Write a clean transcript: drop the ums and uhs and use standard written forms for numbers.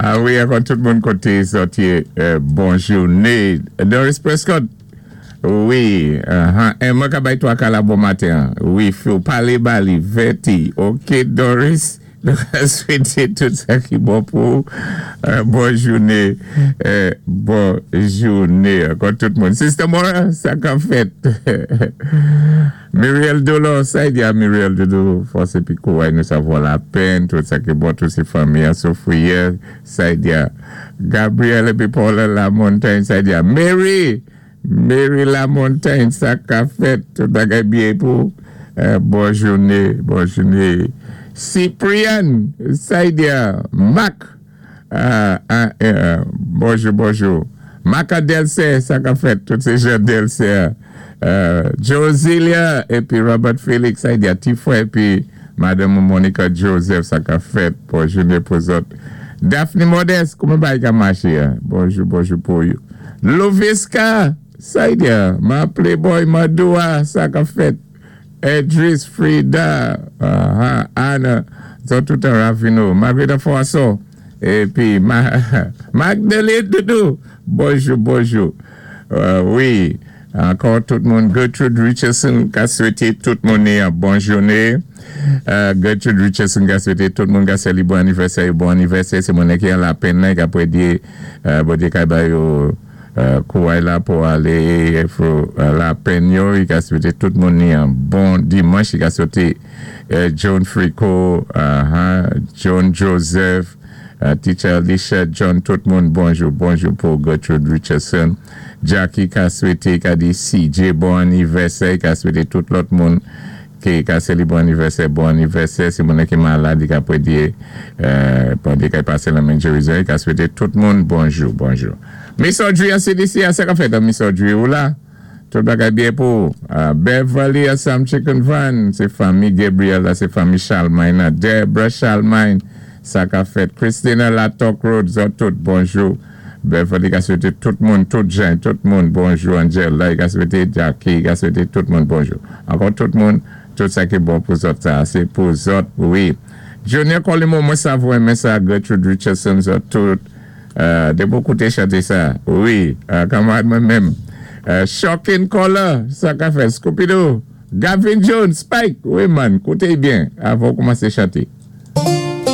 A wi, ankò tout moun koté zòt yé, bon jouné. Doris Prescott, wi, Emma ka bay 3 ka la bon maten. Wi, fò palé ba li, vèti. Ok, Doris, nou ka swété tout sa ki bon pou ou. Bon jouné, bon jouné. Ankò tout moun. Sister Mora, sa ka fèt. Muriel Dolor, sa y di a Muriel Doudou, fòs épi kouray nou sa vo lapenn, tout sa ki bon, tout sé fanmi an soufri yè, sa y di a Gabriel épi Paula Lamontagne, sa y di a Mary, Mary Lamontagne, sa ka fèt, tout bagay byen pou bon jouné, bon jouné. Cyprian, sa y di a Mac, bonjou, bonjou. Maca Delcer, sa ka fèt, tout sé jan Delcer. Josilia épi Robert Felix, sa y di a ti frè épi Madanm Monica Joseph, sa ka fèt, bon jouné pou zòt. Daphne Modeste, kouman bagay ka maché a? Bonjou, bonjou pou ou. Lovisca, sa y di a? Ma Playboy Madoua, sa ka fèt. Edris, Frida, Anna, zòt tout an Ravino, Margarita Froissart, épi Magdalene Doudou, bonjou, bonjou. Wi, ankò tout moun, Gertrude Richardson ka swété tout moun yon bon jouné. Gertrude Richardson ka swété tout moun ka sali bon anivèsè, bon anivèsè, sé moun ki an lapenn nan, ka pwédyé Bondyé ka ba yo kouray la pou alé pou lapenn yo, i ka swété tout moun yon bon dimanch, i ka swété John Frico, John Joseph, Teacher Alicia, John, tout moun, bonjou, bonjou pou Gertrude Richardson. Jackie ka swété, ka di CJ bon anivèsè, ka swété tout lòt moun ki ka sali bon anivèsè, bon anivèsè. Si moun ki malad, i ka pwédyé, Bondyé ka pasé lanmen gerizon, i ka swété tout moun bonjou, bonjou. Miss Audrey a CDC, a sa ka fèt, Miss Audrey ou la? Tout bagay byen pou Beverly Assam Chicken Van, sé fanmi Gabriel la, sé fanmi Charlemagne nan. Deborah Charlemagne, sa ka fèt. Christina Latok Road, zòt tout, bonjou. Beverly ka swété tout moun, tout jan, tout moun, bonjou. Angela, i ka swété Jackie, i ka swété tout moun, bonjou. Ankò tout moun, tout sa ki bon pou zòt sa, sé pou zòt, wi. Junior Colimo, mwen sav ou renmen sa, Gertrude Richardson, zòt tout. Dépi ou kouté chanté sa, wi, kanmarad mwen menm. Shocking Color, sa ka fèt. Scooby-Doo, Gavin Jones, Spike, wi man, kouté byen avan ou koumansé chanté.